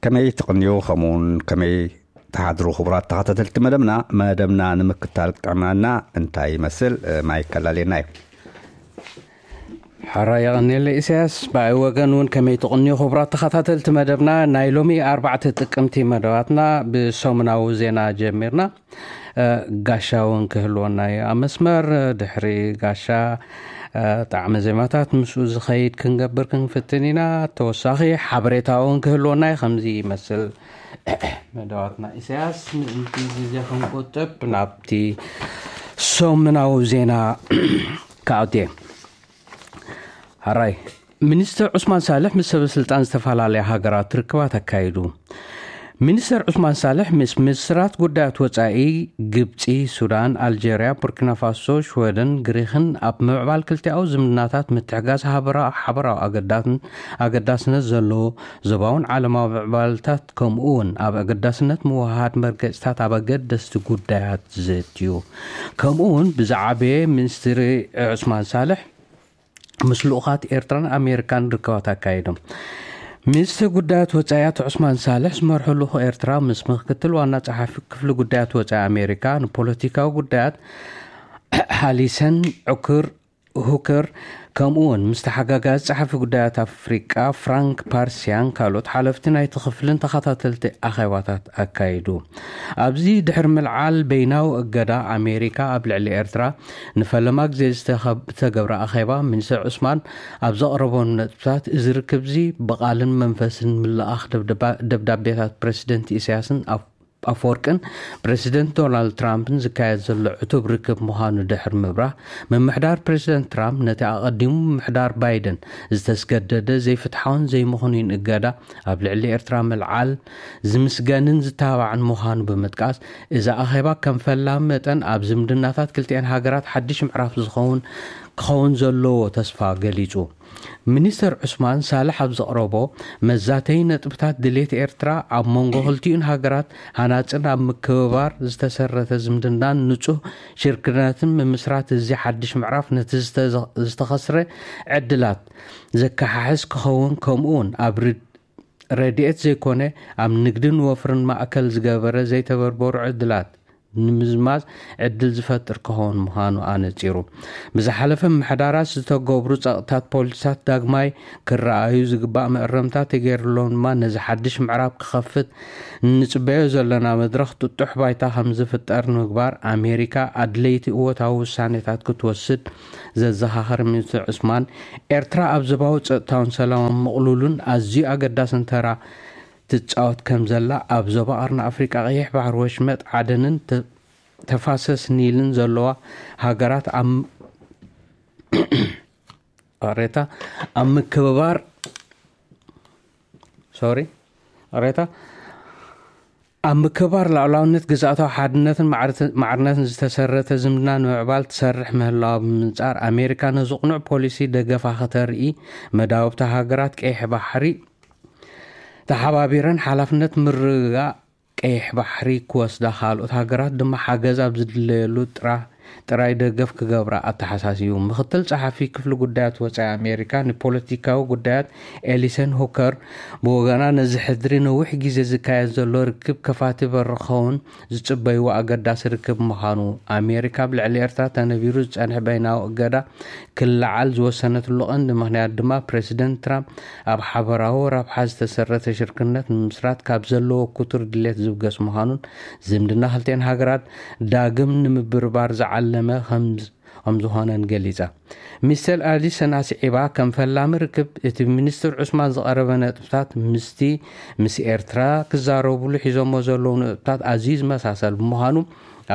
ከመይ ትቕንዩ፣ ከምኡውን ከመይ ትሓድሩ? ክቡራት ተኸታተልቲ መደብና፣ መደብና ንምክታል ጥዕናና እንታይ ይመስል? ማይ ከላልየና እዩ። ሓራ የቐንየለ ኢሳያስ። ብኣይ ወገን እውን ከመይ ትቕንዩ? ክቡራት ተኸታተልቲ መደብና፣ ናይ ሎሚ ኣርባዕተ ጥቅምቲ መደባትና ብሰሙናዊ ዜና ጀሚርና። ጋሻ እውን ክህልወና እዩ ኣብ መስመር። ድሕሪ ጋሻ ጣዕመ ዜማታት ምስኡ ዝኸይድ ክንገብር ክንፍትን ኢና። ተወሳኺ ሓበሬታ እውን ክህልወና እዩ። ከምዚ ይመስል መደባትና። ኢሳያስ፣ ምእንቲ ግዜ ክንቁጥብ ናብቲ ሰሙናዊ ዜና ክኣቱ እየ። ሓራይ፣ ሚኒስተር ዑስማን ሳልሕ ምስ ሰበ ስልጣን ዝተፈላለያ ሃገራት ርክባት ኣካይዱ። ሚኒስተር ዑስማን ሳልሕ ምስ ሚኒስትራት ጉዳያት ወጻኢ ግብጺ፣ ሱዳን፣ ኣልጀርያ፣ ቡርኪና ፋሶ፣ ሽወደን፣ ግሪኽን ኣብ ምምዕባል ክልቲኣዊ ዝምድናታት ምትሕጋዝ ሓበራዊ ኣገዳስነት ዘለዎ ዞባውን ዓለማዊ ምዕባለታት፣ ከምኡ እውን ኣብ ኣገዳስነት ምውህሃድ መርገጽታት ኣብ ኣገደስቲ ጉዳያት ዘትዩ። ከምኡ እውን ብዝዓበየ ሚኒስትሪ ዑስማን ሳልሕ ምስ ልኡኻት ኤርትራን ኣሜሪካን ርክባት ኣካይዶም። ሚኒስትር ጉዳያት ወጻኢ ኣቶ ዑስማን ሳልሕ ዝመርሑ ልኡኽ ኤርትራ ምስ ምክትል ዋና ጸሓፊ ክፍሊ ጉዳያት ወጻኢ ኣሜሪካ ንፖለቲካዊ ጉዳያት ሃሊሰን ዑክር ሁከር፣ ከምኡ እውን ምስ ተሓጋጋዚ ጸሓፊ ጉዳያት ኣፍሪቃ ፍራንክ ፓርሲያን ካልኦት ሓለፍቲ ናይቲ ክፍልን ተኸታተልቲ ኣኼባታት ኣካይዱ። ኣብዚ ድሕሪ ምልዓል በይናዊ እገዳ ኣሜሪካ ኣብ ልዕሊ ኤርትራ ንፈለማ ግዜ ዝተኸብ-፣ ዝተገብረ ኣኼባ፣ ሚኒስተር ዑስማን ኣብ ዘቕረቦም ነጥብታት፣ እዚ ርክብዚ ብቓልን መንፈስን ምልኣኽ ደብደባ-፣ ደብዳቤታት ፕረሲደንት ኢሳያስን ኣፍ-፣ ኣፈወርቅን ፕረሲደንት ዶናልድ ትራምፕን ዝካየድ ዘሎ ዕቱብ ርክብ ምዃኑ ድሕሪ ምብራህ፣ ምምሕዳር ፕረሲደንት ትራምፕ ነቲ ኣቐዲሙ ምምሕዳር ባይደን ዝተስገደደ ዘይፍትሓውን ዘይምኽኑይን እገዳ ኣብ ልዕሊ ኤርትራ ምልዓል ዝምስገንን ዝተባዕን ምዃኑ ብምጥቃስ፣ እዚ ኣኼባ ከም ፈላሚ መጠን ኣብ ዝምድናታት ክልቲኤን ሃገራት ሓድሽ ምዕራፍ ዝኸውን፣ ክኸውን ዘለዎ ተስፋ ገሊጹ። ሚኒስተር ዑስማን ሳልሕ ኣብ ዘቕረቦ መዛተዪ ነጥብታት፣ ድሌት ኤርትራ ኣብ መንጎ ክልቲኡን ሃገራት ሃናጽን ኣብ ምክብባር ዝተሰረተ ዝምድናን ንጹህ ሽርክነትን ምምስራት እዚ ሓድሽ ምዕራፍ ነቲ ዝተዘ-፣ ዝተኸስረ ዕድላት ዘከሓሕስ ክኸውን፣ ከምኡውን ኣብ ርድ-፣ ረድኤት ዘይኮነ ኣብ ንግድን ወፍርን ማእከል ዝገበረ ዘይተበርበሩ ዕድላት ንምዝማዝ ዕድል ዝፈጥር ክኸውን ምዃኑ ኣነጺሩ። ብዝሓለፈ ምሕዳራት ዝተገብሩ ጸቕጥታት ፖሊሲታት ዳግማይ ክረኣዩ ዝግባእ መእረምታ ተገይሩሎም ድማ ነዚ ሓድሽ ምዕራፍ ክኸፍት እንጽበዮ ዘለና መድረኽ ጥጡሕ ባይታ ከም ዝፍጠር ንምግባር ኣሜሪካ ኣድለይቲ እወታዊ ውሳኔታት ክትወስድ ዘዘኻኸረ ሚኒስትር ዑስማን፣ ኤርትራ ኣብ ዞባዊ ጸጥታውን ሰላማዊ ምቕሉልን ኣዝዩ ኣገዳስን ተራ ትጻወት ከም ዘላ፣ ኣብ ዞባ ቀርኒ ኣፍሪቃ፣ ቀይሕ ባሕሪ፣ ወሽመጥ ዓደንን ተ-፣ ተፋሰስ ኒልን ዘለዋ ሃገራት ኣብ ሬታ ኣብ ምክብባር፣ ሶሪ፣ ሬታ ኣብ ምክብባር ሉዓላውነት፣ ግዝኣታዊ ሓድነትን ማዕርት-፣ ማዕርነትን ዝተሰረተ ዝምድና ንምዕባል ትሰርሕ ምህላዋ ብምንጻር፣ ኣሜሪካ ነዚ ቅኑዕ ፖሊሲ ደገፋ ከተርኢ፣ መዳውብቲ ሃገራት ቀይሕ ባሕሪ ተሓባቢረን ሓላፍነት ምርግጋእ ቀይሕ ባሕሪ ክወስዳ፣ ካልኦት ሃገራት ድማ ሓገዝ ኣብ ዝድለየሉ ጥራ-፣ ጥራይ ደገፍ ክገብራ ኣተሓሳሲቡ። ምክትል ጸሓፊ ክፍሊ ጉዳያት ወጻኢ ኣሜሪካ ንፖለቲካዊ ጉዳያት ኤሊሰን ሁከር ብወገና፣ ነዚ ሕድሪ ነዊሕ ግዜ ዝካየድ ዘሎ ርክብ ከፋቲ በር ክኸውን ዝጽበይዎ ኣገዳሲ ርክብ ምዃኑ፣ ኣሜሪካ ኣብ ልዕሊ ኤርትራ ተነቢሩ ዝጸንሐ በይናዊ እገዳ ክለዓል ዝወሰነትሉ ቀንዲ ምኽንያት ድማ፣ ፕረሲደንት ትራምፕ ኣብ ሓበራዊ ረብሓ ዝተሰረተ ሽርክነት ንምምስራት ካብ ዘለዎ ክቱር ድሌት ዝብገስ ምዃኑን፣ ዝምድና ክልቲኤን ሃገራት ዳግም ንምብርባር ዝዓለመ ከም፣ ከም ዝኾነን ገሊጻ። ሚስተር ኣሊሰን ኣስዒባ፣ ከም ፈላሚ ርክብ፣ እቲ ብሚኒስትር ዑስማን ዝቐረበ ነጥብታት ምስቲ ምስ ኤርትራ ክዛረቡሉ ሒዞሞ ዘለዉ ነጥብታት ኣዝዩ ዝመሳሰል ብምዃኑ፣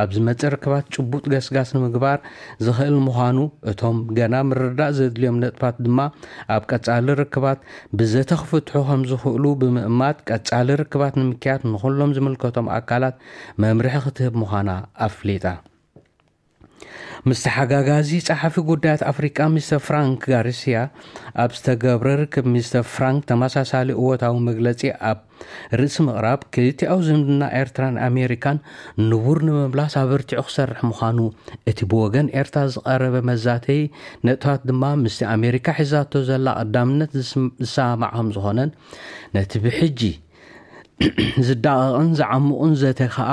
ኣብ ዝመጽእ ርክባት ጭቡጥ ገስጋስ ንምግባር ዝኽእል ምዃኑ፣ እቶም ገና ምርዳእ ዘድልዮም ነጥብታት ድማ ኣብ ቀጻሊ ርክባት ብዘተ ክፍትሑ ከም ዝኽእሉ ብምእማት፣ ቀጻሊ ርክባት ንምክያድ ንኹሎም ዝምልከቶም ኣካላት መምርሒ ክትህብ ምዃና ኣፍሊጣ። ምስ ተሓጋጋዚ ጸሓፊ ጉዳያት ኣፍሪቃ ሚስተር ፍራንክ ጋርሲያ ኣብ ዝተገብረ ርክብ፣ ሚስተር ፍራንክ ተመሳሳሊ እወታዊ መግለጺ ኣብ ርእሲ ምቕራብ፣ ክልቲኣዊ ዝምድና ኤርትራን ኣሜሪካን ንቡር ንምምላስ ኣበርቲዑ ክሰርሕ ምዃኑ፣ እቲ ብወገን ኤርትራ ዝቐረበ መዛተዪ ነጥብታት ድማ ምስቲ ኣሜሪካ ሒዛቶ ዘላ ቀዳምነት ዝስም-፣ ዝሰማማዕ ከም ዝኾነን፣ ነቲ ብሕጂ ዝዳቐቕን ዝዓምቑን ዘተ ከኣ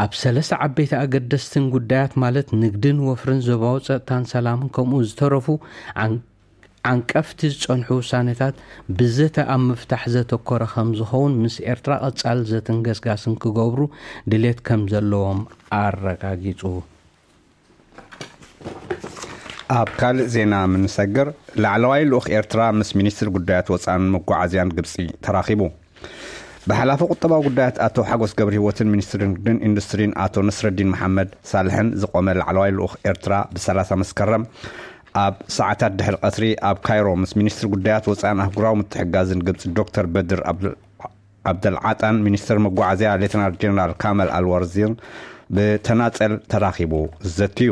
ኣብ ሰለስተ ዓበይቲ ኣገደስትን ጉዳያት፣ ማለት ንግድን ወፍርን ዞባዊ ጸጥታን ሰላምን ከምኡ ዝተረፉ ዓን- ዓንቀፍቲ ዝጸንሑ ውሳኔታት ብዘተ ኣብ ምፍታሕ ዘተኮረ ከም ዝኸውን ምስ ኤርትራ ቀጻል ዘተን ገስጋስን ክገብሩ ድሌት ከም ዘለዎም ኣረጋጊጹ። ኣብ ካልእ ዜና ምንሰግር፣ ላዕለዋይ ልኡኽ ኤርትራ ምስ ሚኒስትር ጉዳያት ወጻእን መጓዓዝያን ግብጺ ተራኺቡ። ብሓላፊ ቁጠባዊ ጉዳያት ኣቶ ሓጎስ ገብረ ህይወትን ሚኒስትር ንግድን ኢንዱስትሪን ኣቶ ነስረዲን መሓመድ ሳልሕን ዝቆመ ላዕለዋይ ልኡኽ ኤርትራ ብ30 መስከረም ኣብ ሰዓታት ድሕሪ ቀትሪ ኣብ ካይሮ ምስ ሚኒስትር ጉዳያት ወጻእን ኣህጉራዊ ምትሕጋዝን ግብጺ ዶክተር በድር ኣብዱል ዓብደልዓጣን ሚኒስትር መጓዓዝያ ሌተናል ጀነራል ካመል ኣልወርዚን ብተናጸል ተራኺቡ ዘትዩ።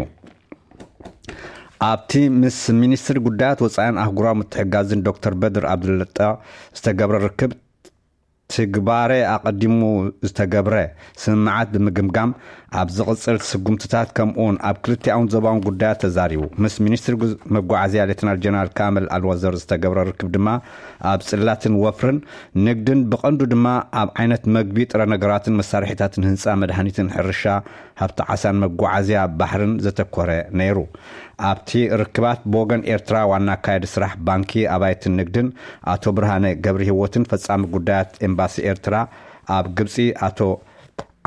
ኣብቲ ምስ ሚኒስትር ጉዳያት ወጻእን ኣህጉራዊ ምትሕጋዝን ዶክተር በድር ኣብዱለጣ ዝተገብረ ርክብ፣ ትግባረ ኣቐዲሙ ዝተገብረ ስምምዓት ብምግምጋም፣ ኣብ ዝቕጽል ስጉምትታት ከምኡውን ኣብ ክልቲኣውን ዞባውን ጉዳያት ተዛሪቡ። ምስ ሚኒስትር ጉዝ- መጓዓዝያ ሌተናል ጀነራል ካመል ኣልወዘር ዝተገብረ ርክብ ድማ ኣብ ጽላትን ወፍርን ንግድን፣ ብቐንዱ ድማ ኣብ ዓይነት መግቢ፣ ጥረ ነገራትን መሳርሒታትን ህንጻ፣ መድሃኒትን ሕርሻ፣ ሃብቲ ዓሳን መጓዓዝያ ባሕርን ዘተኮረ ነይሩ። ኣብቲ ርክባት ብወገን ኤርትራ ዋና ኣካያዲ ስራሕ ባንኪ ኣባይትን ንግድን ኣቶ ብርሃነ ገብረ ህይወትን ፈጻሚ ጉዳያት ኤምባሲ ኤርትራ ኣብ ግብጺ ኣቶ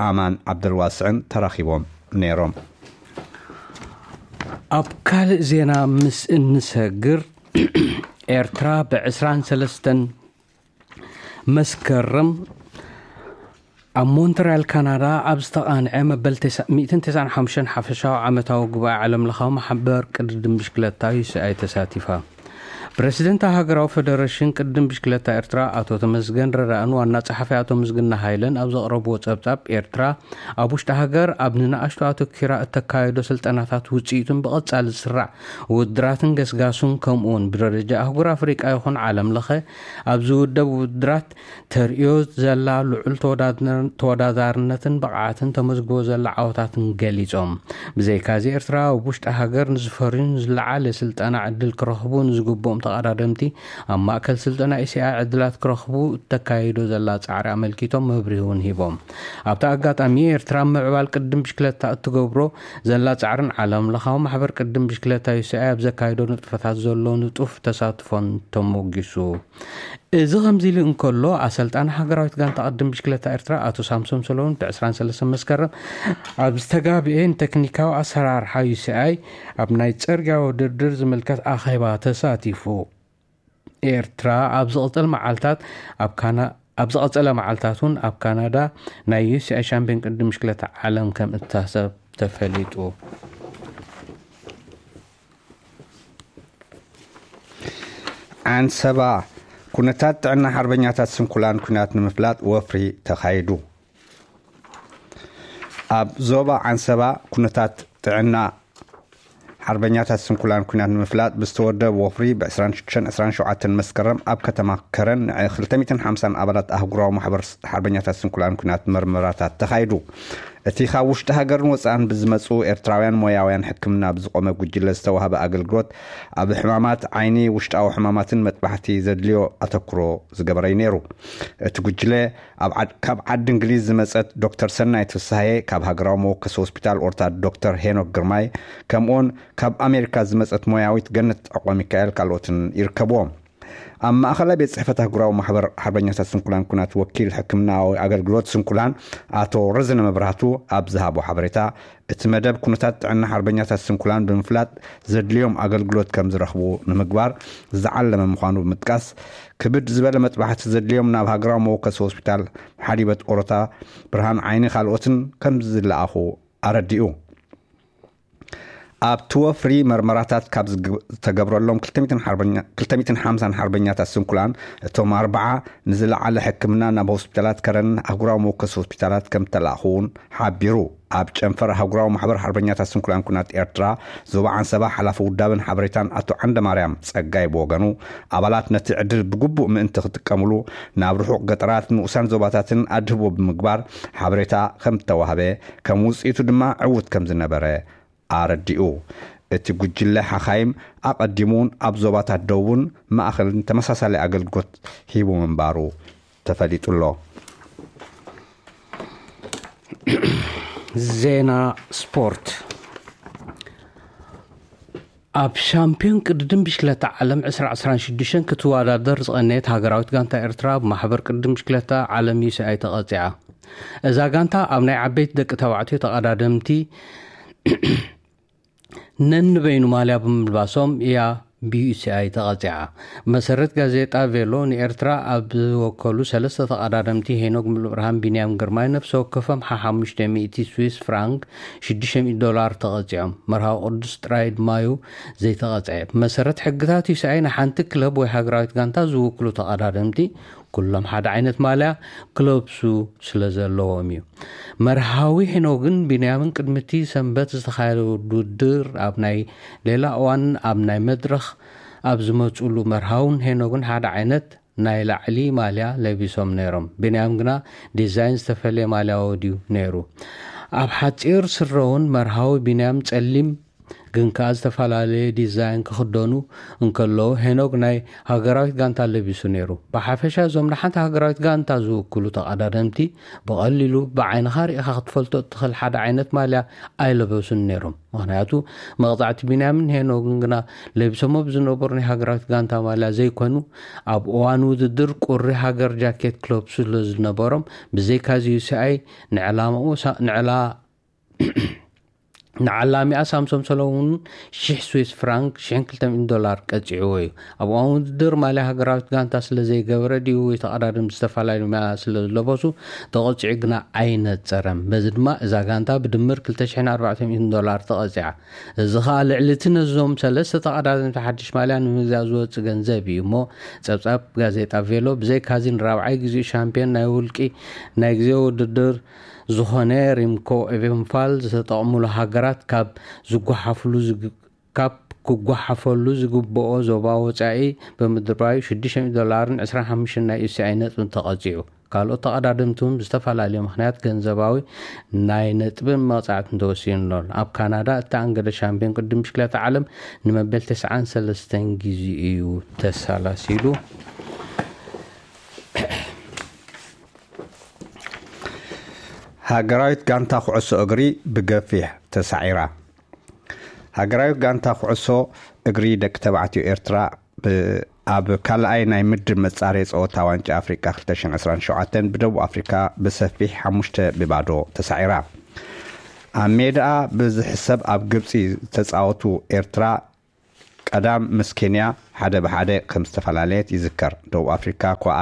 ኣማን ዓብደልዋስዕን ተራኺቦም ነይሮም። ኣብ ካልእ ዜና ምስ እንሰግር፣ ኤርትራ ብ23 መስከረም ኣብ ሞንትሪያል ካናዳ ኣብ ዝተቓንዐ መበል 195 ሓፈሻዊ ዓመታዊ ጉባኤ ዓለምለኻዊ ማሕበር ቅድድም ብሽክለታ ዩ ሲ ኣይ ተሳቲፋ። ፕረሲደንት ሃገራዊ ፈደረሽን ቅድድም ብሽክለታ ኤርትራ ኣቶ ተመስገን ረዳእን ዋና ጸሓፊ ኣቶ ምስግና ሃይለን ኣብ ዘቕረብዎ ጸብጻብ፣ ኤርትራ ኣብ ውሽጢ ሃገር ኣብ ንንኣሽቱ ኣተኪራ እተካየዶ ስልጠናታት ውጽኢቱን ብቐጻሊ ዝስራዕ ውድድራትን ገስጋሱን ከምኡውን ብደረጃ ኣህጉር ኣፍሪቃ ይኹን ዓለም ለኸ ኣብ ዝውደብ ውድድራት ተርእዮ ዘላ ልዑል ተወዳድነ- ተወዳዳርነትን ብቕዓትን ተመዝግቦ ዘላ ዓወታትን ገሊጾም። ብዘይካዚ ኤርትራ ኣብ ውሽጢ ሃገር ንዝፈርዩን ዝለዓለ ስልጠና ዕድል ክረኽቡ ንዝግብኦም ተቐዳደምቲ ኣብ ማእከል ስልጠና ኢ ሲ ኣይ ዕድላት ክረኽቡ እተካይዶ ዘላ ጻዕሪ ኣመልኪቶም መብርሂ እውን ሂቦም። ኣብቲ ኣጋጣሚ ኤርትራ ምዕባል ቅድም ብሽክለታ እትገብሮ ዘላ ጻዕርን ዓለም ለኻዊ ማሕበር ቅድም ብሽክለታ ዩ ሲ ኣይ ኣብ ዘካይዶ ንጥፈታት ዘሎ ንጡፍ ተሳትፎን ተሞጊሱ። እዚ ከምዚ ኢሉ እንከሎ፣ ኣሰልጣኒ ሃገራዊት ጋንታ ቅድም ብሽክለታ ኤርትራ ኣቶ ሳምሶም ሰሎሞን ብ23 መስከረም ኣብ ዝተጋብኤ ንቴክኒካዊ ኣሰራርሓ ዩ ሲ ኣይ ኣብ ናይ ጽርግያ ውድድር ዝምልከት ኣኼባ ተሳቲፉ። ኤርትራ ኣብ ዝቕጽል መዓልታት ኣብ ካና- ኣብ ዝቐጸለ መዓልታት እውን ኣብ ካናዳ ናይ ዩ ሲ ኣይ ሻምፒዮን ቅድም ብሽክለታ ዓለም ከም እትሳተፍ ተፈሊጡ። ዓንሰባ፣ ኩነታት ጥዕና ሓርበኛታት ስንኩላን ኲናት ንምፍላጥ ወፍሪ ተኻይዱ። ኣብ ዞባ ዓንሰባ ኩነታት ጥዕና ሓርበኛታት ስንኩላን ኲናት ንምፍላጥ ብዝተወደብ ወፍሪ ብ26 27 መስከረም ኣብ ከተማ ከረን ን250 ኣባላት ኣህጉራዊ ማሕበር ሓርበኛታት ስንኩላን ኲናት መርመራታት ተኻይዱ። እቲ ካብ ውሽጢ ሃገርን ወጻእን ብዝመጹ ኤርትራውያን ሞያውያን ሕክምና ብዝቆመ ጉጅለ ዝተዋህበ ኣገልግሎት ኣብ ሕማማት ዓይኒ፣ ውሽጣዊ ሕማማትን መጥባሕቲ ዘድልዮ ኣተኩሮ ዝገበረ እዩ ነይሩ። እቲ ጉጅለ ኣብ ዓድ- ካብ ዓዲ እንግሊዝ ዝመጸት ዶክተር ሰናይት ፍስሃየ፣ ካብ ሃገራዊ መወከሲ ሆስፒታል ኦርታ ዶክተር ሄኖክ ግርማይ፣ ከምኡውን ካብ ኣሜሪካ ዝመጸት ሞያዊት ገነት ዕቆ ሚካኤል ካልኦትን ይርከብዎም። ኣብ ማእኸላይ ቤት ጽሕፈት ኣህጉራዊ ማሕበር ሓርበኛታት ስንኩላን ኩናት ወኪል ሕክምናዊ ኣገልግሎት ስንኩላን ኣቶ ረዘነ መብራህቱ ኣብ ዝሃቦ ሓበሬታ፣ እቲ መደብ ኩነታት ጥዕና ሓርበኛታት ስንኩላን ብምፍላጥ ዘድልዮም ኣገልግሎት ከም ዝረኽቡ ንምግባር ዝዓለመ ምዃኑ ብምጥቃስ፣ ክብድ ዝበለ መጥባሕቲ ዘድልዮም ናብ ሃገራዊ መወከሲ ሆስፒታል ሓሊበት ኦሮታ፣ ብርሃን ዓይኒ ካልኦትን ከም ዝለኣኹ ኣረዲኡ። ኣብቲ ወፍሪ መርመራታት ካብ ዝግ- ዝተገብረሎም 250 ሓርበኛታት ስንኩላን፣ እቶም ኣርባዓ ንዝለዓለ ሕክምና ናብ ሆስፒታላት ከረንን ኣህጉራዊ መወከሲ ሆስፒታላት ከም ዝተላእኹ እውን ሓቢሩ። ኣብ ጨንፈር ኣህጉራዊ ማሕበር ሓርበኛታት ስንኩላን ኩናት ኤርትራ ዞባ ዓንሰባ ሓላፊ ውዳበን ሓበሬታን ኣቶ ዓንደ ማርያም ጸጋይ ብወገኑ፣ ኣባላት ነቲ ዕድል ብግቡእ ምእንቲ ክጥቀምሉ ናብ ርሑቕ ገጠራት፣ ንኡሳን ዞባታትን ኣድህቦ ብምግባር ሓበሬታ ከም ዝተዋህበ፣ ከም ውጽኢቱ ድማ ዕዉት ከም ዝነበረ ኣረዲኡ። እቲ ጉጅለ ሓኻይም ኣቐዲሙ እውን ኣብ ዞባታት ደቡብን ማእኸልን ተመሳሳሊ ኣገልግሎት ሂቡ ምንባሩ ተፈሊጡ ኣሎ። ዜና ስፖርት። ኣብ ሻምፒዮን ቅድድም ብሽክለታ ዓለም ዕስራ ዕስራን ሽዱሽተን ክትወዳደር ዝቐነየት ሃገራዊት ጋንታ ኤርትራ ብማሕበር ቅድድም ብሽክለታ ዓለም ዩ ሲ ኣይ ተቐጺዓ። እዛ ጋንታ ኣብ ናይ ዓበይቲ ደቂ ተባዕትዮ ተቐዳደምቲ ነንበይኑ ማልያ ብምልባሶም እያ ብ ዩ ሲ ኣይ ተቐጺዓ። መሰረት ጋዜጣ ቬሎ ንኤርትራ ኣብ ዝወከሉ ሰለስተ ተቐዳደምቲ ሄኖክ ሙሉብርሃን፣ ቢንያም ግርማይ ነፍሲ ወከፎም ሓሙሽተ ሚእቲ ስዊስ ፍራንክ፣ ሽዱሽተ ሚእቲ ዶላር፣ ተቐጺዖም። መርሃዊ ቅዱስ ጥራይ ድማዩ ዘይተቐጽዐ። ብመሰረት ሕግታት ዩ ሲ ኣይ ንሓንቲ ክለብ ወይ ሃገራዊት ጋንታ ዝውክሉ ተቐዳደምቲ ኩሎም ሓደ ዓይነት ማልያ ክለብሱ ስለ ዘለዎም እዩ። መርሃዊ ሄኖግን ቢንያምን ቅድሚ እቲ ሰንበት ዝተኻየደ ውድድር ኣብ ናይ ሌላ እዋን ኣብ ናይ መድረኽ ኣብ ዝመፅሉ መርሃውን ሄኖግን ሓደ ዓይነት ናይ ላዕሊ ማልያ ለቢሶም ነይሮም። ቢንያም ግና ዲዛይን ዝተፈለየ ማልያ ወድዩ ነይሩ። ኣብ ሓፂር ስረውን መርሃዊ ቢንያም ፀሊም ግን ከኣ ዝተፈላለየ ዲዛይን ክኽደኑ እንከለዉ ሄኖግ ናይ ሃገራዊት ጋንታ ለቢሱ ነይሩ። ብሓፈሻ እዞም ንሓንቲ ሃገራዊት ጋንታ ዝውክሉ ተቐዳደምቲ ብቐሊሉ ብዓይንኻ ርኢኻ ክትፈልጦ እትኽእል ሓደ ዓይነት ማልያ ኣይለበሱን ነይሮም። ምኽንያቱ መቕጻዕቲ ቢንያምን ሄኖግን ግና ለቢሶሞ ብዝነበሩ ናይ ሃገራዊት ጋንታ ማልያ ዘይኮኑ ኣብ እዋን ውድድር ቁሪ ሃገር ጃኬት ክለብሱ ስለ ዝነበሮም ብዘይካዚ ዩ ሲ ኣይ ንዕላማኡ ሳ- ንዕላ ንዓላሚኣ ሳምሶም ሰለሙን ሽሕ ስዊስ ፍራንክ ሽሕን ክልተ ሚእትን ዶላር ቀጺዕዎ እዩ። ኣብ እዋን ውድድር ማልያ ሃገራዊት ጋንታ ስለ ዘይገበረ ድዩ ወይ ተቐዳደምቲ ዝተፈላለዩ ማልያ ስለ ዝለበሱ ተቐጺዑ ግና ኣይነጸረን። በዚ ድማ እዛ ጋንታ ብድምር ክልተ ሽሕን ኣርባዕተ ሚእትን ዶላር ተቐጺዓ። እዚ ኸኣ ልዕሊ እቲ ነዞም ሰለስተ ተቐዳደምቲ ሓድሽ ማልያ ንምግዛእ ዝወጽእ ገንዘብ እዩ እሞ ጸብጻብ ጋዜጣ ቬሎ ብዘይካዚ ንራብዓይ ግዜኡ ሻምፒዮን ናይ ውልቂ ናይ ግዜ ውድድር ዝኾነ ሪምኮ ኤቨንፋል ዝተጠቕሙሉ ሃገራት ካብ ዝጓሓፍሉ ዝግ- ካብ ክጓሓፈሉ ዝግብኦ ዞባ ወጻኢ ብምድርባዩ ሽዱሽተ ሚእቲ ዶላርን ዕስራን ሓሙሽተን ናይ ዩ ሲ ኣይ ነጥብን ተቐጺዑ። ካልኦት ተቐዳደምቲ እውን ብዝተፈላለየ ምኽንያት ገንዘባዊ ናይ ነጥብን መቕጻዕትን ተወሲኑሎም። ኣብ ካናዳ እተኣንገደ ሻምፒዮን ቅድድም ብሽክለታ ዓለም ንመበል ተስዓን ሰለስተን ግዜ እዩ ተሳላሲሉ። ሃገራዊት ጋንታ ኩዕሶ እግሪ ብገፊሕ ተሳዒራ። ሃገራዊት ጋንታ ኩዕሶ እግሪ ደቂ ተባዕትዮ ኤርትራ ብ- ኣብ ካልኣይ ናይ ምድብ መጻረዪ ጸወታ ዋንጫ ኣፍሪቃ ክልተ ሽሕን ዕስራን ሸውዓተን ብደቡብ ኣፍሪካ ብሰፊሕ ሓሙሽተ ብባዶ ተሳዒራ። ኣብ ሜዳኣ ብዝሕሰብ ኣብ ግብጺ ዝተጻወቱ ኤርትራ ቀዳም ምስ ኬንያ ሓደ ብሓደ ከም ዝተፈላለየት ይዝከር። ደቡብ ኣፍሪካ ኮኣ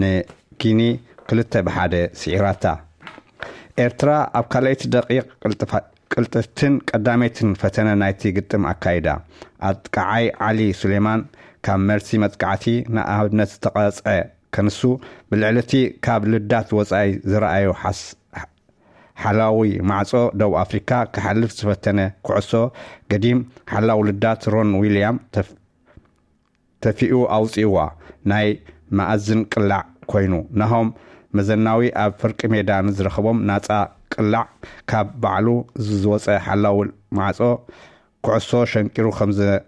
ንጊኒ ክልተ ብሓደ ስዒራታ። ኤርትራ ኣብ ካልኣይቲ ደቂቕ ቅልጥፋ- ቅልጥፍትን ቀዳመይትን ፈተነ ናይቲ ግጥም ኣካይዳ። ኣጥቃዓይ ዓሊ ሱሌማን ካብ መልሲ መጥቃዕቲ ንኣብነት ዝተቐጽዐ ከንሱ ብልዕሊ እቲ ካብ ልዳት ወጻኢ ዝረኣዮ ሓስ- ሓላዊ ማዕጾ ደቡብ ኣፍሪካ ክሓልፍ ዝፈተነ ኩዕሶ ገዲም ሓላው ልዳት ሮን ዊልያም ተፍ- ተፊኡ ኣውጺእዋ። ናይ መኣዝን ቅላዕ ኮይኑ ናሆም መዘናዊ ኣብ ፍርቂ ሜዳ ንዝረኸቦም ናጻ ቅላዕ ካብ ባዕሉ ዝወጸ ሓላው ማዕጾ ኩዕሶ ሸንቂሩ ከም ዘ-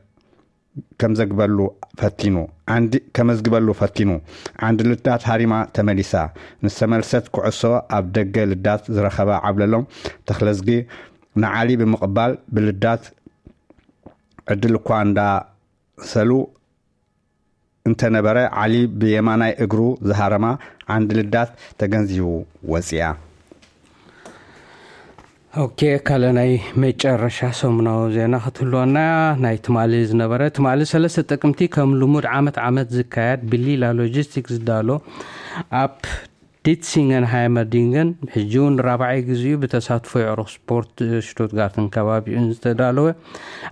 ከም ዘግበሉ ፈቲኑ ዓንዲ ከመዝግበሉ ፈቲኑ ዓንዲ ልዳት ሃሪማ ተመሊሳ። ንዝተመልሰት ኩዕሶ ኣብ ደገ ልዳት ዝረኸበ ዓብለሎም ተኽለዝጊ ንዓሊ ብምቕባል ብልዳት ዕድል እኳ እንዳሰሉ እንተነበረ ዓሊ ብየማናይ እግሩ ዝሃረማ ዓንዲ ልዳት ተገንዚቡ ወፂኣ። ኦኬ፣ ካልእ ናይ መጨረሻ ሰሙናዊ ዜና ክትህልወና እያ። ናይ ትማሊ ዝነበረ፣ ትማሊ ሰለስተ ጥቅምቲ ከም ልሙድ ዓመት ዓመት ዝካየድ ብሊላ ሎጂስቲክስ ዝዳሎ ኣብ ዲትሲንገን ሃይመርዲንገን ሕጂ እውን ራብዓይ ግዜኡ ብተሳትፎ የዕሩኽ ስፖርት ሽቱትጋርትን ከባቢኡን ዝተዳለወ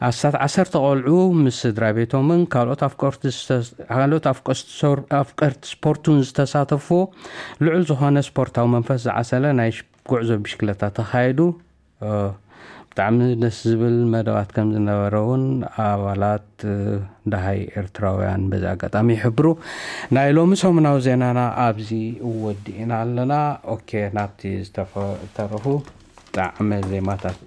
ኣስታት ዓሰርተ ቆልዑ ምስ ስድራ ቤቶምን ካልኦት ኣፍቀርቲ ስተ- ካልኦት ኣፍቀርቲ ሶር- ኣፍቀርቲ ስፖርቱን ዝተሳተፍዎ ልዑል ዝኾነ ስፖርታዊ መንፈስ ዝዓሰለ ናይ ሽ- ጉዕዞ ብሽክለታ ተኻይዱ። እ፣ ብጣዕሚ ደስ ዝብል መደባት ከም ዝነበረ እውን ኣባላት እ፣ ደሃይ ኤርትራውያን በዚ ኣጋጣሚ ይሕብሩ። ናይ ሎሚ ሰሙናዊ ዜናና ኣብዚ ወዲእና ኣለና። ኦኬ፣ ናብቲ ዝተፈ- ዝተረፉ ጣዕመ ዜማታት